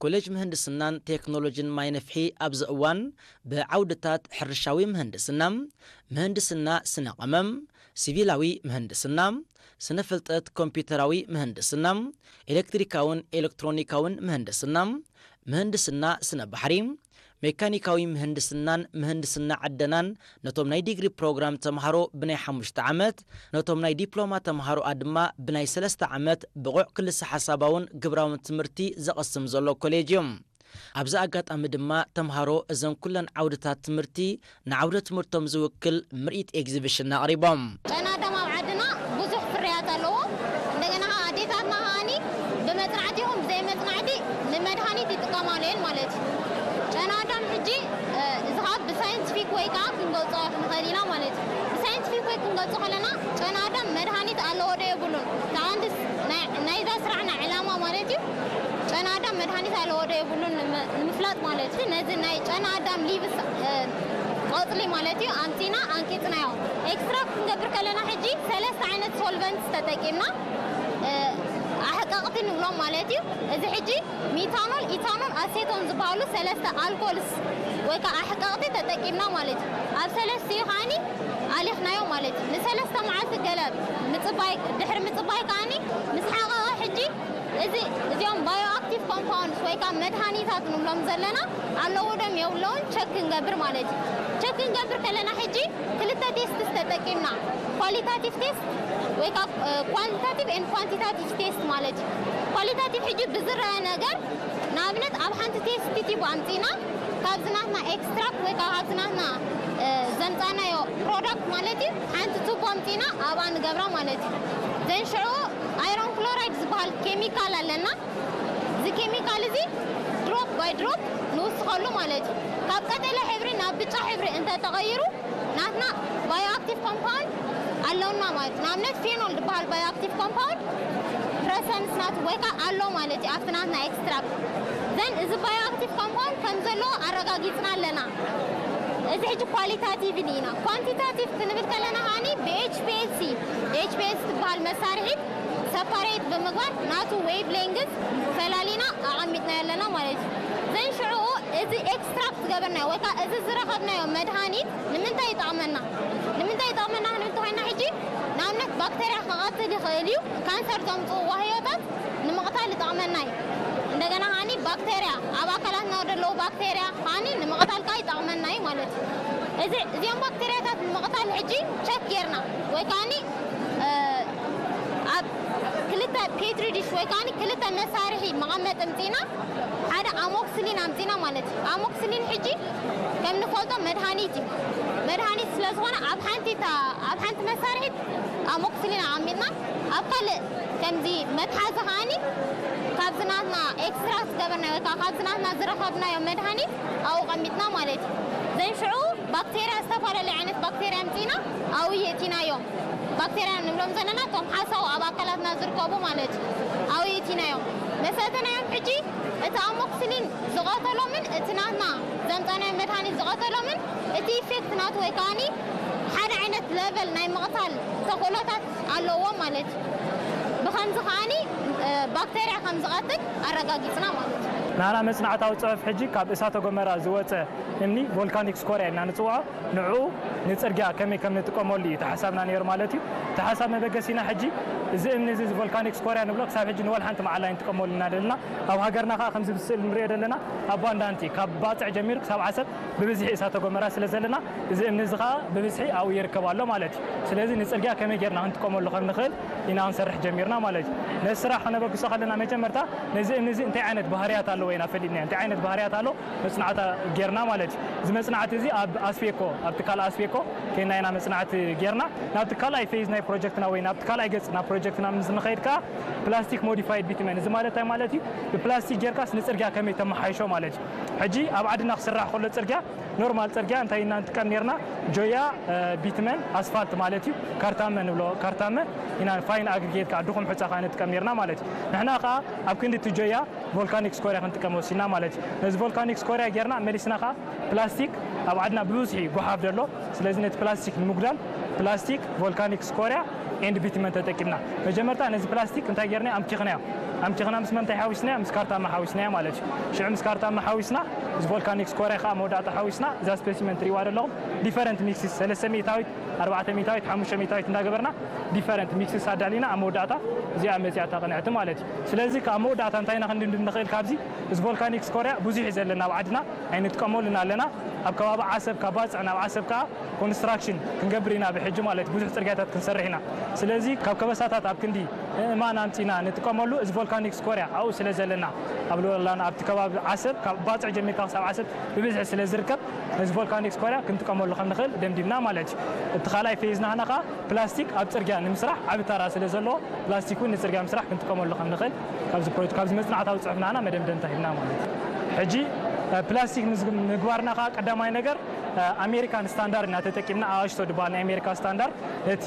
ኮሌጅ ምህንድስናን ቴክኖሎጂን ማይ ነፍሒ ኣብዚ እዋን ብዓውድታት ሕርሻዊ ምህንድስና፣ ምህንድስና ስነ ቀመም፣ ሲቪላዊ ምህንድስና፣ ስነ ፍልጠት ኮምፒውተራዊ ምህንድስና፣ ኤሌክትሪካውን ኤሌክትሮኒካውን ምህንድስና፣ ምህንድስና ስነ ባሕሪ፣ ሜካኒካዊ ምህንድስናን ምህንድስና ዕደናን ነቶም ናይ ዲግሪ ፕሮግራም ተምሃሮ ብናይ ሓሙሽተ ዓመት፣ ነቶም ናይ ዲፕሎማ ተምሃሮኣ ድማ ብናይ ሰለስተ ዓመት ብቑዕ ክልሰ ሓሳባውን ግብራውን ትምህርቲ ዘቐስም ዘሎ ኮሌጅ እዩ። ኣብዚ ኣጋጣሚ ድማ ተምሃሮ እዘን ኩለን ዓውድታት ትምህርቲ ንዓውደ ትምህርቶም ዝውክል ምርኢት ኤግዚቢሽን ኣቕሪቦም። ጨና ኣዳም ኣብ ዓድና ብዙሕ ፍርያት ኣለዎ። እንደገና ከዓ ኣዴታትና ከዓኒ ብመጽናዕቲ ይኹን ብዘይ መጽናዕቲ ንመድሃኒት ይጥቀማሉ እየን ማለት እዩ። ጨና ኣዳም ሕጂ፣ እ፣ እዚ ከዓ ብሳይንቲፊክ ወይ ከዓ ክንገልጾ ክንኽእል ኢና ማለት እዩ። ብሳይንቲፊክ ወይ ክንገልጾ ከለና ጨና ኣዳም መድሃኒት ኣለዎ ዶ የብሉን? እቲ ቀንዲ ናይ፣ ናይዛ ስራሕና ዕላማ ማለት እዩ። ጨና ኣዳም መድሃኒት ኣለዎ ዶ የብሉን ንመ-፣ ንምፍላጥ ማለት እዩ። ነዚ ናይ ጨና ኣዳም ሊቭስ፣ እ፣ ቆጽሊ ማለት እዩ ኣምጺና ኣንቂጽናዮ። ኤክስትራክት ክንገብር ከለና ሕጂ ሰለስተ ዓይነት ሶልቨንትስ ተጠቂምና፣ እ፣ ኣሕቀቕቲ ንብሎም ማለት እዩ። እዚ ሕጂ ሚታኖል፣ ኢታኖል፣ ኣሴቶን ዝበሃሉ ሰለስተ ኣልኮልስ ወይ ከዓ ኣሕቀቕቲ ተጠቂምና ማለት እዩ። ኣብ ሰለስቲኡ ከዓኒ ኣሊኽናዮ ማለት እዩ። ንሰለስተ መዓልቲ ገለ ምጽባይ፣ ድሕሪ ምጽባይ ከዓኒ ምስ ሓቐቐ ሕጂ እዚ፣ እዚኦም ባዮ ኣክቲቭ ኮምፓውንድስ ወይ ከዓ መድሃኒታት ንብሎም ዘለና ኣለዎ ዶም የብለውን ቸክ ክንገብር ማለት እዩ። ቸክ ክንገብር ከለና ሕጂ ክልተ ቴስትስ ተጠቂምና፣ ኳሊታቲቭ ቴስት ወይ ከዓ፣ እ፣ ኳሊታቲቭ ኤንድ ኳንቲታቲቭ ቴስት ማለት እዩ። ኳሊታቲቭ ሕጂ ብዝረአ ነገር ንኣብነት ኣብ ሓንቲ ቴስት ቲዩብ ኣምጺና ካብዚ ናትና ኤክስትራክት ወይ ከዓ ካብዚ ናትና፣ እ፣ ዘምጻናዮ ፕሮዳክት ማለት እዩ ሓንቲ ቱቦ ኣምጺና ኣብኣ ንገብራ ማለት እዩ። ዘን ሽዑ ኣይሮን ክሎራይድ ዝበሃል ኬሚካል ኣለና። እዚ ኬሚካል እዚ ድሮፕ ባይ ድሮፕ ንውስኸሉ ማለት እዩ። ካብ ቀጠልያ ሕብሪ ናብ ብጫ ሕብሪ እንተተቐይሩ ናትና ባዮ ኣክቲቭ ኮምፓውንድ ኣለውና ማለት እዩ። ንኣብነት ፌኖል ዝበሃል ባዮ ኣክቲቭ ኮምፓውንድ ፕረሰንስ ናቱ ወይ ከዓ ኣሎ ማለት እዩ ኣብቲ ናትና ኤክስትራክት። ዘን እዚ ባዮ ኣክቲቭ ኮምፓውንድ ከም ዘለዎ ኣረጋጊጽና ኣለና። እዚ ሕጂ ኳሊታቲቭ ኢና። ኳንቲታቲቭ ክንብል ከለና ከዓኒ ብኤች ፒ ኤል ሲ፣ ኤች ፒ ኤል ሲ ትበሃል መሳርሒት ሰፓሬት ብምግባር ናቱ ዌቭ ሌንግዝ ፈላሊና ኣቐሚጥና ኣለና ማለት እዩ። ዘን ሽዑ እዚ ኤክስትራክት ዝገበርናዮ ወይ ከዓ እዚ ዝረኸብናዮ መድሃኒት ንምንታይ ይጠቕመና? ንምንታይ ይጠቕመና ክንብል እንተኾይና ሕጂ ንኣብነት ባክተርያ ክቐትል ይኽእል እዩ። ካንሰር ዘምፅኡ ዋህዮታት ንምቕታል ይጠቕመና እዩ። እንደገና ከዓኒ ባክተርያ ኣብ ኣካላትና ዘለዉ ባክተርያ ከዓኒ ንምቕታል ከዓ ይጠቕመና እዩ ማለት እዩ። እዚ፣ እዚኦም ባክተርያታት ንምቕታል ሕጂ ቸክ ጌርና ወይ ከዓኒ፣ እ፣ ኣብ ክልተ ፔትሪ ዲሽ ወይ ከዓኒ ክልተ መሳርሒ መቐመጢ ምፂና ሓደ ኣሞክስሊን ኣምፂና ማለት እዩ። ኣሞክስሊን ሕጂ ከም ንፈልጦ መድሃኒት እዩ። መድሃኒት ስለ ዝኾነ ኣብ ሓንቲ እታ፣ ኣብ ሓንቲ መሳርሒት ኣሞክስሊን ኣቐሚጥና ኣብ ካልእ ከምዚ መትሓዚ ከዓኒ ካብዚ ናትና ኤክስትራክት ዝገበርናዮ ወይ ከዓ ካብዚ ናትና ዝረኸብናዮ መድሃኒት ኣብኡ ቀሚጥና ማለት እዩ። ዘን ሽዑ ባክቴርያ፣ ዝተፈላለዩ ዓይነት ባክቴርያ ኣምፂና ኣብኡ የእቲናዮም። ባክቴርያ ንብሎም ዘለና እቶም ሓሳው ኣብ ኣካላትና ዝርከቡ ማለት እዩ። ኣብኡ የእቲናዮም። መሰተናዮም ሕጂ እቲ ኣሞክስሊን ዝቐተሎምን እቲ ናትና ዘምፃናዮ መድሃኒት ዝቐተሎምን እቲ ኢፌክት ናቱ ወይ ከዓኒ ሓደ ዓይነት ለቨል ናይ ምቕታል ተኽእሎታት ኣለዎ ማለት እዩ። ብኸምዚ ከዓኒ፣ እ፣ ባክቴርያ ከም ዝቐትል ኣረጋጊጽና ማለት እዩ። ናና መጽናዕታዊ ጽሑፍ ሕጂ ካብ እሳተ ጎመራ ዝወጸ እምኒ ቮልካኒክ ስኮርያ ኢልና ንጽውዖ፣ ንዕኡ ንጽርግያ ከመይ ከም ንጥቀመሉ እዩ እቲ ሓሳብና ነይሩ ማለት እዩ። እቲ ሓሳብ መበገሲና ሕጂ እዚ እምኒ እዚ ቮልካኒክ ስኮርያ ንብሎ ክሳብ ሕጂ ንወላ ሓንቲ መዓላ ኣይንጥቀመሉ ኢና ዘለና። ኣብ ሃገርና ከኣ ከምዚ ብስእሊ ንሪኦ ዘለና ኣብ ባንዳንቲ ካብ ባጽዕ ጀሚሩ ክሳብ ዓሰብ ብብዝሒ እሳተ ጎመራ ስለ ዘለና፣ እዚ እምኒ እዚ ኸኣ ብብዝሒ ኣብኡ ይርከብ ኣሎ ማለት እዩ። ስለዚ ንጽርግያ ከመይ ጌርና ክንጥቀመሉ ከም ንኽእል ኢና ክንሰርሕ ጀሚርና ማለት እዩ። ነዚ ስራሕ ከነበግሶ ከለና መጀመርታ ነዚ እምኒ እዚ እንታይ ዓይነት ባህርያት ኣለዎ ኢና ፈሊጥናዮ። እንታይ ዓይነት ባህርያት ኣለዎ መጽናዕታ ጌርና ማለት እዩ። እዚ መጽናዕቲ እዚ ኣብ ኣስፌኮ፣ ኣብ ትካል ኣስፌኮ ኬንና ኢና መጽናዕቲ ጌርና። ናብቲ ካልኣይ ፌዝ ናይ ፕሮጀክትና ወይ ናብቲ ካልኣይ ገጽ ናብ ፕሮጀክትና ምስ ንኸይድ ከኣ ፕላስቲክ ሞዲፋይድ ቢትመን፣ እዚ ማለት እንታይ ማለት እዩ? ብፕላስቲክ ጌርካስ ንጽርግያ ከመይ ተመሓይሾ ማለት እዩ። ሕጂ ኣብ ዓድና ክስራሕ ከሎ ጽርግያ፣ ኖርማል ጽርግያ እንታይ ኢና ንጥቀም ኔርና? ጆያ፣ እ፣ ቢትመን፣ ኣስፋልት ማለት እዩ። ካርታመ ንብሎ፣ ካርታመ ኢና፣ ፋይን ኣግሪጌት ከኣ ድኹም ሑጻ ከኣ ንጥቀም ኔርና ማለት እዩ። ንሕና ከኣ ኣብ ክንዲ እቲ ጆያ ቮልካኒክ ስኮርያ ክንጥቀም ወሲና ማለት እዩ። ነዚ ቮልካኒክ ስኮርያ ጌርና መሊስና ከኣ ፕላስቲክ ኣብ ዓድና ብብዝሒ ጓሓፍ ዘሎ፣ ስለዚ ነቲ ፕላስቲክ ንምጉዳል ፕላስቲክ፣ ቮልካኒክ ስኮርያ ኤንድ ቢትመን ተጠቂምና። መጀመርታ ነዚ ፕላስቲክ እንታይ ጌርና? ኣምኪኽናዮ። ኣምቲኽና ምስ መንታይ ሓዊስናያ? ምስ ካርታማ ሓዊስናያ ማለት እዩ። ሽዑ ምስ ካርታማ ሓዊስና፣ ምስ ቮልካኒክ ስኮርያ ከዓ መወዳእታ ሓዊስና፣ እዛ ስፔሲመን ትሪእዋ ዘለኹም ዲፈረንት ሚክስስ፣ ሰለስተ ሚእታዊት፣ ኣርባዕተ ሚእታዊት፣ ሓሙሽተ ሚእታዊት እንዳገበርና ዲፈረንት ሚክስስ ኣዳሊና ኣብ መወዳእታ እዚኣ መፂኣ እታ ቅንዕቲ ማለት እዩ። ስለዚ ካብ መወዳእታ እንታይ ኢና ክንድምድም ንኽእል ካብዚ? እዚ ቮልካኒክ ስኮርያ ብዙሕ እዩ ዘለና ኣብ ዓድና፣ ኣይንጥቀመሉን ኣለና። ኣብ ከባቢ ዓሰብ ካብ ባፅዕ ናብ ዓሰብ ከዓ ኮንስትራክሽን ክንገብር ኢና ብሕጂ ማለት እዩ። ብዙሕ ፅርግያታት ክንሰርሕ ኢና። ስለዚ ካብ ከበሳታት ኣብ ክንዲ እማን ኣምፂና ንጥቀመሉ፣ እዚ ቮልካኒክ ስኮርያ ኣብኡ ስለ ዘለና፣ ኣብ ሎላን ኣብቲ ከባቢ ዓሰብ፣ ካብ ባፅዕ ጀሚርካ ክሳብ ዓሰብ ብብዝሒ ስለ ዝርከብ፣ ነዚ ቮልካኒክ ስኮርያ ክንጥቀመሉ ከም ንኽእል ደምዲምና ማለት እዩ። እቲ ካልኣይ ፌዝ ናህና ከዓ ፕላስቲክ ኣብ ፅርግያ ንምስራሕ ዓቢ ተራ ስለ ዘለዎ፣ ፕላስቲክ እውን ንፅርግያ ምስራሕ ክንጥቀመሉ ከም ንኽእል ካብዚ ፕሮጀክት፣ ካብዚ መፅናዕታዊ ፅሑፍ ናህና መደምደምታ ሂብና ማለት እዩ። ሕጂ እ፣ ፕላስቲክ ምስ ምግባርና ከዓ ቀዳማይ ነገር እ፣ ኣሜሪካን ስታንዳርድ ኢና ተጠቂምና። ኣሽቶ ዝበሃል ናይ ኣሜሪካ ስታንዳርድ ነቲ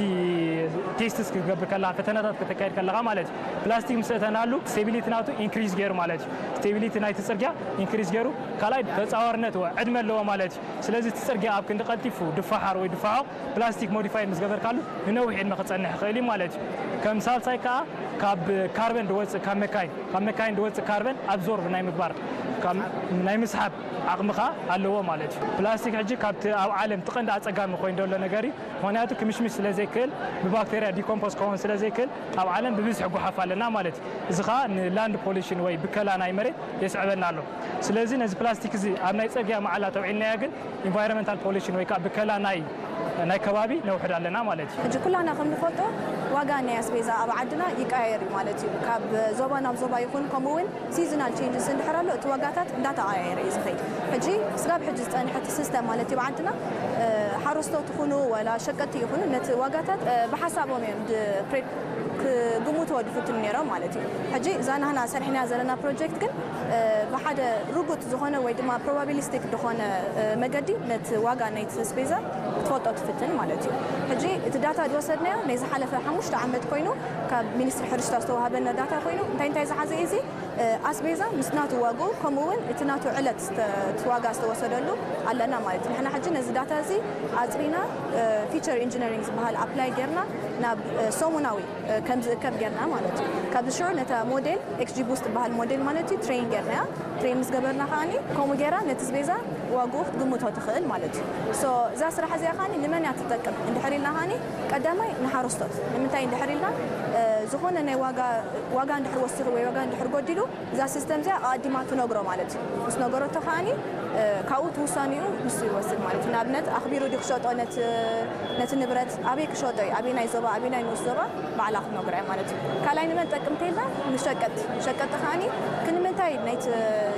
ቴስትስ ክትገብር ከለኻ፣ ፈተነታት ከተካይድ ከለኻ ማለት እዩ። ፕላስቲክ ምስ እተናሉ ስቴቢሊቲ ናቱ ኢንክሪዝ ገይሩ ማለት እዩ። ስቴቢሊቲ ናይቲ ፅርግያ ኢንክሪዝ ገይሩ፣ ካልኣይ ተፃዋርነት ወ ዕድመ ኣለዎ ማለት እዩ። ስለዚ እቲ ፅርግያ ኣብ ክንዲ ቀልጢፉ ድፋሓር ወይ ድፋሖ ፕላስቲክ ሞዲፋይ ምስ ገበርካሉ ንነዊሕ ዕድመ ክፀንሕ ይኽእል እዩ ማለት እዩ። ከም ሳልሳይ ከዓ ካብ ካርበን ድወፅእ፣ ካብ መካይን ካብ መካይን ድወፅእ ካርበን ኣብዞርብ ናይ ምግባር፣ ካብ ናይ ምስሓብ ዓቕሚ ከዓ ኣለዎ ማለት እዩ። ፕላስቲክ ሕጂ ካብቲ ኣብ ዓለም እቲ ቀንዲ ኣፀጋሚ ኮይኑ ዘሎ ነገር እዩ። ምኽንያቱ ክምሽምሽ ስለ ዘይክእል፣ ብባክቴርያ ዲኮምፖስ ክኸውን ስለ ዘይክእል፣ ኣብ ዓለም ብብዝሒ ጓሓፍ ኣለና ማለት እዩ። እዚ ከዓ ንላንድ ፖሊሽን ወይ ብከላ ናይ መሬት የስዕበና ኣሎ። ስለዚ ነዚ ፕላስቲክ እዚ ኣብ ናይ ፅርግያ መዓላ ተውዒልናዮ ግን ኢንቫይሮንመንታል ፖሊሽን ወይ ከዓ ብከላ ናይ ናይ ከባቢ ነውሕድ ኣለና ማለት እዩ። ሕጂ ኩላና ከም ንፈልጦ ዋጋ ናይ ኣስቤዛ ኣብ ዓድና ይቀያየር እዩ ማለት እዩ። ካብ ዞባ ናብ ዞባ ይኹን፣ ከምኡ እውን ሲዝናል ቼንጅስ እንድሕር ኣሎ፣ እቲ ዋጋታት እንዳተቐያየረ እዩ ዝኸይድ። ሕጂ ስጋብ ሕጂ ዝጸንሐ እቲ ሲስተም ማለት እዩ ኣብ ዓድና፣ እ፣ ሓረስቶት ይኹኑ ወላ ሸቀጥቲ ይኹኑ ነቲ ዋጋታት፣ እ፣ ብሓሳቦም እዮም ድ-፣ ፕሬ-፣ ክግምትዎ ድፍትኑ ነይሮም ማለት እዩ። ሕጂ እዛ ናህና ሰሪሕናያ ዘለና ፕሮጀክት ግን፣ እ፣ ብሓደ ርጉጥ ዝኾነ ወይ ድማ ፕሮባቢሊስቲክ ዝኾነ፣ እ፣ መገዲ ነቲ ዋጋ ናይቲ ኣስቤዛ ክትፈልጦ ትፍትን ማለት እዩ። ሕጂ እቲ ዳታ ዝወሰድናዮ ናይ ዝሓለፈ ሓሙሽተ ዓመት ኮይኑ፣ ካብ ሚኒስትሪ ሕርሻ ዝተዋሃበና ዳታ ኮይኑ፣ እንታይ እንታይ ዝሓዘ እዩ እዚ? እ፣ ኣስቤዛ ምስ ናቱ ዋግኡ፣ ከምኡ እውን እቲ ናቱ ዕለት ዝተ-፣ እቲ ዋጋ ዝተወሰደሉ ኣለና ማለት እዩ። ንሕና ሕጂ ነዚ ዳታ እዚ ኣጽሪና፣ እ፣ ፊቸር ኢንጂነሪንግ ዝበሃል ኣፕላይ ጌርና ናብ፣ እ፣ ሰሙናዊ፣ እ፣ ከም ዝእከብ ጌርና ማለት እዩ። ካብዚ ሽዑ ነታ ሞዴል፣ ኤክስጂ ቡስት ዝበሃል ሞዴል ማለት እዩ፣ ትሬን ጌርናያ። ትሬን ምስ ገበርና ከኣኒ ከምኡ ጌራ ነቲ ኣስቤዛ ዋግኡ ክትግምቶ ትኽእል ማለት እዩ። ሶ እዛ ስራሕ እዚኣ ከኣኒ ንመን እያ ትጠቅም እንድሕር ኢልና ከኣኒ፣ ቀዳማይ ንሓረስቶት። ንምንታይ እንድሕር ኢልና፣ እ፣ ዝኾነ ናይ ዋጋ፣ ዋጋ እንድሕር ወሲኹ ወይ ዋጋ እንድሕር ጎዲሉ፣ እዛ ሲስተም እዚኣ ኣቐዲማ ትነግሮ ማለት እዩ። ምስ ነገረቶ ከኣኒ፣ እ፣ ካብኡ እቲ ውሳኔኡ ንሱ ይወስድ ማለት እዩ። ንኣብነት ኣኽቢሩ ድዩ ክሸጦ ነቲ፣ ነቲ ንብረት፣ ኣበይ ክሸጦ እዩ፣ ኣበየናይ ዞባ፣ ኣበየናይ ንኡስ ዞባ፣ ባዕላ ክትነግሮ እያ ማለት እዩ። ካልኣይ ንመን ጠቅም ተይልና፣ ንሸቀጥቲ። ሸቀጥቲ ከኣኒ ክንምንታይ ናይቲ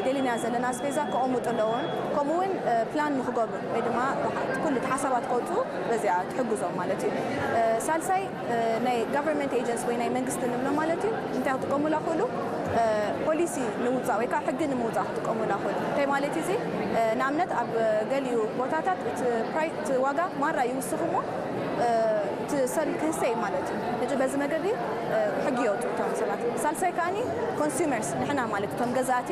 ደሊናዮ ዘለና ኣስቤዛ ከቐምጡ ኣለዎም፣ ከምኡ እውን፣ እ፣ ፕላን ንክገብሩ ወይ ድማ ኩሉ እቲ ሓሳባት ከውፅኡ በዚኣ ትሕግዞም ማለት እዩ። እ፣ ሳልሳይ፣ እ፣ ናይ ጋቨርንመንት ኤጀንሲ ወይ ናይ መንግስቲ ንብሎ ማለት እዩ፣ እንታይ ክጥቀሙላ ክእሉ? እ፣ ፖሊሲ ንምውፃእ ወይ ከዓ ሕጊ ንምውፃእ ክጥቀሙላ ክእሉ። እንታይ ማለት እዩ እዚ? እ፣ ንኣብነት ኣብ ገሊኡ ቦታታት እቲ ፕራይ-፣ እቲ ዋጋ ማራ ይውስኽ እሞ፣ እ፣ እቲ ሰብ ክህሰ እዩ ማለት እዩ። ሕጂ በዚ መገዲ፣ እ፣ ሕጊ የውፅኡ እቶም ሰባት። ሳልሳይ ከኣኒ ኮንሱመርስ ንሕና ማለት እቶም ገዛእቲ፣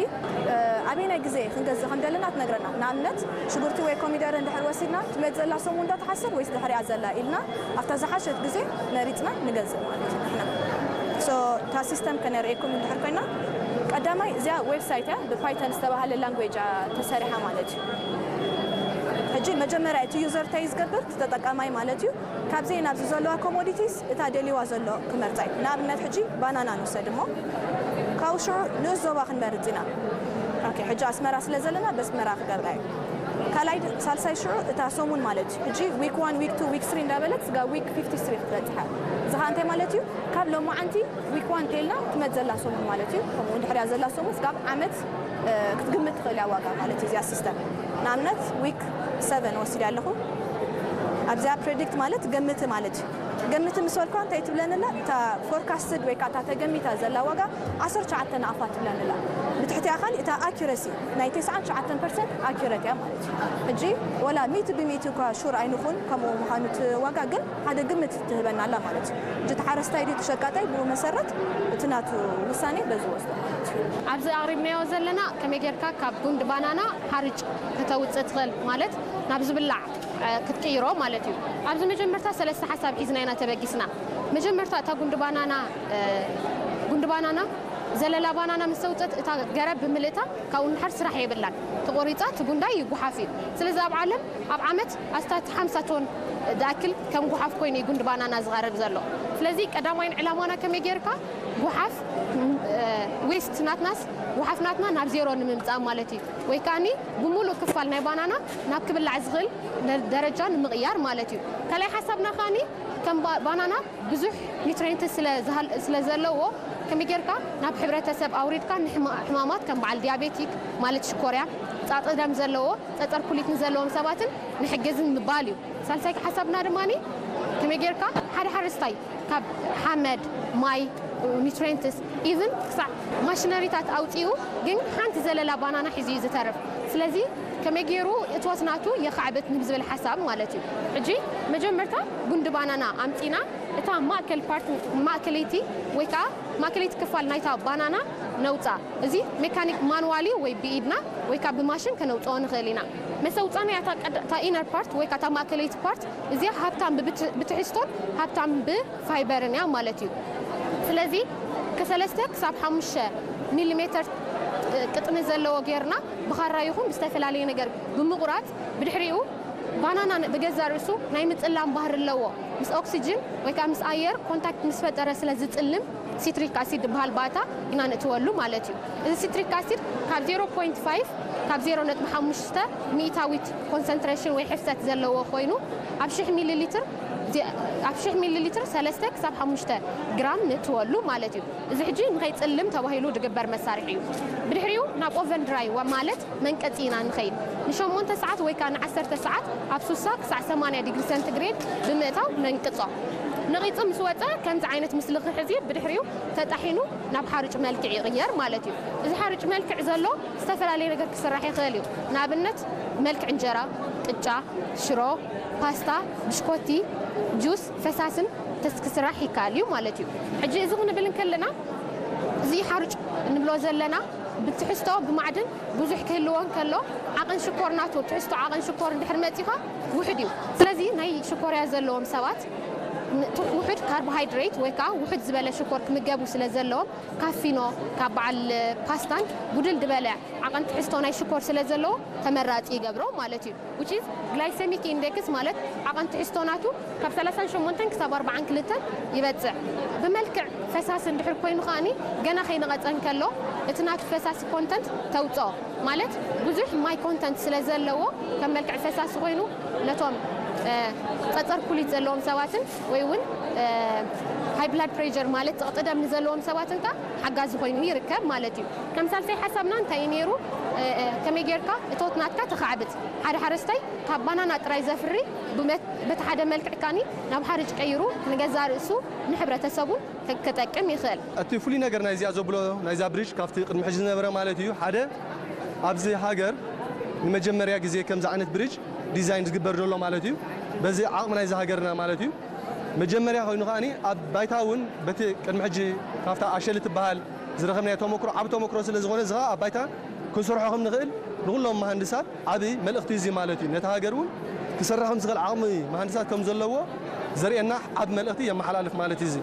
እ፣ ኣበየናይ ግዜ ክንገዝእ ከም ዘለና ትነግረና። ንኣብነት ሽጉርቲ ወይ ኮሚደረ እንድሕር ወሲድና ትመፅእ ዘላ ሰሙን ዶ ትሓስር ወይስ ድሕሪኣ ዘላ ኢልና ኣብታ ዝሓሸት ግዜ መሪፅና ንገዝእ ማለት እዩ ንሕና። ሶ እታ ሲስተም ከነርእየኩም እንድሕር ኮይና፣ ቀዳማይ እዚኣ ዌብሳይት እያ፣ ብፓይተን ዝተባህለ ላንጉዌጅ እያ ተሰሪሓ ማለት እዩ። ሕጂ መጀመርያ እቲ ዩዘር እንታይ እዩ ዝገብር? እቲ ተጠቃማይ ማለት እዩ። ካብዚ ናብዚ ዘለዋ ኮሞዲቲስ እታ ደልይዋ ዘሎ ክመርጻ እዩ። ንኣብነት ሕጂ ባናና ንውሰድ እሞ፣ ካብኡ ሽዑ ንኡስ ዞባ ክንመርጽ ኢና። ኦኬ፣ ሕጂ ኣስመራ ስለ ዘለና በስመራ ክገብራ እዩ። ካልኣይ ድ-፣ ሳልሳይ ሽዑ እታ ሰሙን ማለት እዩ። ሕጂ ዊክ ዋን፣ ዊክ ቱ፣ ዊክ ስሪ እንዳበለት ስጋብ ዊክ ፊፍቲ ስሪ ክትበጽሕ እያ። እዚ ኸኣ እንታይ ማለት እዩ? ካብ ሎማዓንቲ ዊክ ዋን እንተይልና ትመጽእ ዘላ ሰሙን ማለት እዩ። ከምኡ እውን ድሕሪያ ዘላ ሰሙን ስጋብ ዓመት፣ እ፣ ክትግምት ትኽእል እያ ዋጋ ማለት እዩ እዚኣ ሲስተም። ንኣብነት ዊክ ሰቨን ወሲደ ኣለኹ። ኣብዚኣ ፕሬዲክት ማለት ገምቲ ማለት እዩ። ገምቲ ምስ በልኳ እንታይ ትብለኒ ኣላ? እታ ፎርካስትድ ወይ ከዓ እታ ተገሚታ ዘላ ዋጋ ዓሰርተ ትሽዓተ ናቕፋ ትብለኒ ኣላ። ብትሕቲኣ ካሊእ እታ ኣኪረሲ ናይ ተስዓን ትሽዓተን ፐርሰንት ኣኪረት እያ ማለት እዩ። ሕጂ ወላ ሚእቲ ብሚእቲ እኳ ሹር ኣይንኹን ከምኡ ምዃኑ እቲ ዋጋ፣ ግን ሓደ ግምት ትህበና ኣላ ማለት እዩ። ሕጂ እቲ ሓረስታይ ድዩ እቲ ሸቃጣይ፣ ብኡ መሰረት እቲ ናቱ ውሳኔ በዚ ወስዶ ማለት እዩ። ኣብዚ ኣቕሪብናዮ ዘለና ከመይ ጌርካ ካብ ጉንዲ ባናና ሓርጭ ከተውፅእ ትኽእል፣ ማለት ናብ ዝብላዕ፣ እ፣ ክትቅይሮ ማለት እዩ። ኣብዚ መጀመርታ ሰለስተ ሓሳብ ሒዝና ኢና ተበጊስና። መጀመርታ እታ ጉንዲ ባናና፣ እ፣ ጉንዲ ባናና ዘለላ ባናና ምስ ኣውፀት እታ ገረብ ብምልእታ ካብኡ ንድሓር ስራሕ የብላን። ተቆሪፃ እቲ ጉንዳይ ይጉሓፍ እዩ። ስለዚ ኣብ ዓለም ኣብ ዓመት ኣስታት ሓምሳ ቶን ዝኣክል ከም ጉሓፍ ኮይኑ እዩ ጉንዲ ባናና ዝቐርብ ዘሎ። ስለዚ ቀዳማይን ዕላማና ከመይ ጌርካ ጉሓፍ ዌስት ናትናስ ጉሓፍ ናትና ናብ ዜሮ ንምምፃእ ማለት እዩ። ወይ ከዓኒ ብምሉእ ክፋል ናይ ባናና ናብ ክብላዕ ዝኽእል ደረጃ ንምቕያር ማለት እዩ። ካልኣይ ሓሳብና ከዓኒ ከም ባናና ብዙሕ ኒትሬንት ስለ ዘለዎ ከመይ ጌርካ ናብ ሕብረተሰብ ኣውሪድካ ንሕማማት ከም በዓል ዲያቤቲክ ማለት ሽኮርያ፣ ፃጥደም ዘለዎ፣ ፀፀር ኩሊት ንዘለዎም ሰባትን ንሕግዝን ምባል እዩ። ሳልሳይ ሓሳብና ድማ ከመይ ጌርካ ሓደ ሓረስታይ ካብ ሓመድ፣ ማይ፣ ኒትሬንትስ ኢቭን ክሳዕ ማሽነሪታት ኣውፂኡ ግን ሓንቲ ዘለላ ባናና ሒዙ እዩ ዝተርፍ። ስለዚ ከመይ ገይሩ እትወት ናቱ የኻዕብት ንብዝብል ሓሳብ ማለት እዩ። ሕጂ መጀመርታ ጉንዲ ባናና ኣምፂና እታ ማእከል ፓርት ማእከለይቲ ወይ ከዓ ማእከለይቲ ክፋል ናይታ ባናና ነውፃ። እዚ ሜካኒክ ማንዋሊ ወይ ብኢድና ወይ ከዓ ብማሽን ከነውፅኦ ንኽእል ኢና። መሰውፃና እታ ኢነር ፓርት ወይ ከዓ እታ ማእከለይቲ ፓርት እዚኣ ሃብታም ብትሕዝቶን ሃብታም ብፋይበርን እያ ማለት እዩ። ስለዚ ከሰለስተ ክሳብ ሓሙሽተ ሚሊሜተር ቅጥኒ ዘለዎ ጌርና ብኻራ ይኹን ብዝተፈላለየ ነገር ብምቑራፅ ብድሕሪኡ ባናና ብገዛ ርእሱ ናይ ምፅላም ባህሪ ኣለዎ። ምስ ኦክሲጅን ወይ ከዓ ምስ ኣየር ኮንታክት ምስ ፈጠረ ስለ ዝፅልም ሲትሪክ ኣሲድ ዝበሃል ባእታ ኢና ንእትወሉ ማለት እዩ። እዚ ሲትሪክ ኣሲድ ካብ ዜሮ ፖይንት ፋይቭ ካብ ዜሮ ነጥቢ ሓሙሽተ ሚእታዊት ኮንሰንትሬሽን ወይ ሕፍሰት ዘለዎ ኮይኑ ኣብ ሽሕ ሚሊ ሊትር ኣብ ሽሕ ሚሊ ሊትር ሰለስተ ክሳብ ሓሙሽተ ግራም ንእትወሉ ማለት እዩ። እዚ ሕጂ ንኸይፅልም ተባሂሉ ዝግበር መሳርሒ እዩ። ብድሕሪኡ ናብ ኦቨን ድራይ ማለት መንቀፂ ኢና ንኸይድ። ንሸሞንተ ሰዓት ወይ ከዓ ንዓሰርተ ሰዓት ኣብ ሱሳ ክሳዕ ሰማንያ ዲግሪ ሰንቲግሬድ ብምእታው ነንቅፆ። ነቒፁ ምስ ወፀ ከምዚ ዓይነት ምስልኺ ሕዚ ብድሕሪኡ ተጣሒኑ ናብ ሓሩጭ መልክዕ ይቕየር ማለት እዩ። እዚ ሓሩጭ መልክዕ ዘሎ ዝተፈላለየ ነገር ክስራሕ ይኽእል እዩ። ንኣብነት መልክዕ እንጀራ፣ ቅጫ፣ ሽሮ፣ ፓስታ፣ ብሽኮቲ፣ ጁስ፣ ፈሳስን ተስ ክስራሕ ይከኣል እዩ ማለት እዩ። ሕጂ እዚ ክንብል እንከለና እዚ ሓሩጭ እንብሎ ዘለና ብትሕዝቶ ብማዕድን ብዙሕ ክህልዎ እንከሎ ዓቐን ሽኮር ናቱ ትሕዝቶ ዓቐን ሽኮር እንድሕር መፂኻ ውሑድ እዩ። ስለዚ ናይ ሽኮርያ ዘለዎም ሰባት ውሑድ ካርቦሃይድሬት ወይ ከዓ ውሑድ ዝበለ ሽኮር ክምገቡ ስለ ዘለዎም ካፊኖ ካብ በዓል ፓስታን ጉድል ዝበለ ዓቐን ትሕዝቶ ናይ ሽኮር ስለ ዘለዎ ተመራፂ ይገብሮ ማለት እዩ። Which is glycemic index ማለት ዓቐን ትሕዝቶ ናቱ ካብ ሰላሳን ሸሞንተን ክሳብ ኣርባዓን ክልተን ይበፅዕ። ብመልክዕ ፈሳሲ እንድሕር ኮይኑ ከዓኒ ገና ከይነቐፀ እንከሎ እቲ ናቱ ፈሳሲ ኮንተንት ተውፅኦ ማለት ብዙሕ ማይ ኮንተንት ስለ ዘለዎ ከም መልክዕ ፈሳሲ ኮይኑ ነቶም ፀፀር ኩሊት ዘለዎም ሰባትን ወይ እውን ሃይ ብላድ ፕሬር ማለት ፀቕጢ ደም ንዘለዎም ሰባትን ከ ሓጋዚ ኮይኑ ይርከብ ማለት እዩ። ከም ሳልሳይ ሓሳብና እንታይ እዩ ነይሩ? ከመይ ጌርካ እቶት ናትካ ተኻዕብት? ሓደ ሓረስታይ ካብ ባናና ጥራይ ዘፍሪ በቲ ሓደ መልክዕ ካኒ ናብ ሓርጭ ቀይሩ ንገዛ ርእሱ ንሕብረተሰቡን ክጠቅም ይኽእል። እቲ ፍሉይ ነገር ናይዚኣ ዘብሎ ናይዛ ብሪጅ ካብቲ ቅድሚ ሕጂ ዝነበረ ማለት እዩ ሓደ ኣብዚ ሃገር ንመጀመርያ ግዜ ከምዚ ዓይነት ብሪጅ ዲዛይን ዝግበር ዘሎ ማለት እዩ። በዚ ዓቕሚ ናይዚ ሃገርና ማለት እዩ። መጀመርያ ኮይኑ ከዓኒ ኣብ ባይታ እውን በቲ ቅድሚ ሕጂ ካብታ ኣሸሊ ትበሃል ዝረኸብናዮ ተመክሮ ዓብ ተመክሮ ስለ ዝኾነ እዚ ከዓ ኣብ ባይታ ክንሰርሖ ከም ንኽእል ንኩሎም መሃንድሳት ዓብ መልእኽቲ እዚ ማለት እዩ። ነቲ ሃገር እውን ክሰርሕ ከም ዝኽእል ዓቕሚ መሃንድሳት ከም ዘለዎ ዘርእየና ዓብ መልእኽቲ የመሓላልፍ ማለት እዩ። እዚ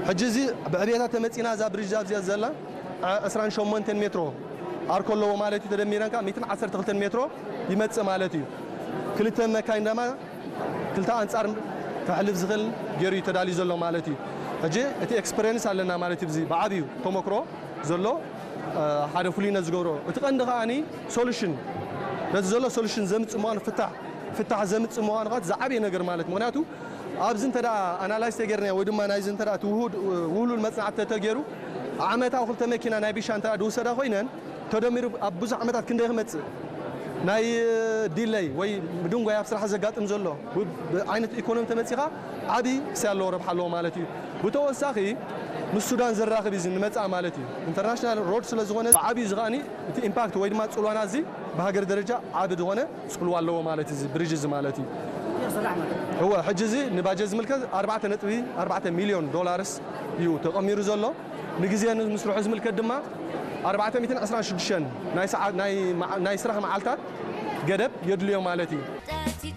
ሕጂ እዚ ብዕብየታ ተመፂና እዛ ብሪጅ ኣብዚኣ ዘላ ዕስራን ሸሞንተን ሜትሮ ኣርኮ ኣለዎ ማለት እዩ። ተደሚረን ከዓ ሚእትን ዓሰርተ ክልተን ሜትሮ ይመፅእ ማለት እዩ። ክልተ መካይን ደማ ክልተ ኣንፃር ከሕልፍ ዝኽእል ገይሩ እዩ ተዳልዩ ዘሎ ማለት እዩ። ሕጂ እቲ ኤክስፐሪንስ ኣለና ማለት እዩ። እዚ ብዓብዩ ተመክሮ ዘሎ ሓደ ፍሉይነት ዝገብሮ እቲ ቀንዲ ከዓኒ ሶሉሽን ነቲ ዘሎ ሶሉሽን ዘምፅእ ምዃኑ ፍታሕ ፍታሕ ዘምፅእ ምዃኑ ከዓ ዝዓብየ ነገር ማለት ምክንያቱ ኣብዚ እንተ ኣናላይዝ ተገይርና ወይ ድማ ናይዚ እንተ ውህሉል መፅናዕቲ ተተገይሩ ዓመታዊ ክልተ መኪና ናይ ቢሻ እንተ ዝውሰዳ ኮይነን ተደሚሩ ኣብ ብዙሕ ዓመታት ክንደይ ክመፅእ ናይ ዲለይ ወይ ምድንጓይ ኣብ ስራሕ ዘጋጥም ዘሎ ዓይነት ኢኮኖሚ ተመፂኻ ዓብዪ ክሳይ ኣለዎ ረብሓ ኣለዎ ማለት እዩ። ብተወሳኺ ምስ ሱዳን ዘራኽብ እዩ ንመፅኣ ማለት እዩ። ኢንተርናሽናል ሮድ ስለ ዝኾነ ዓብዪ እዚ ከዓኒ እቲ ኢምፓክት ወይ ድማ ፅልዋና እዚ ብሃገር ደረጃ ዓብ ዝኾነ ፅልዋ ኣለዎ ማለት እዚ ብሪጅ እዚ ማለት እዩ። እወ ሕጂ እዚ ንባጀት ዝምልከት ኣርባዕተ ነጥቢ ኣርባዕተ ሚሊዮን ዶላርስ እዩ ተቐሚሩ ዘሎ። ንግዜ ምስርሑ ዝምልከት ድማ ኣርባዕተ ሚእትን ዕስራን ሽዱሽተን ናይ ስራሕ መዓልታት ገደብ የድልዮ ማለት እዩ።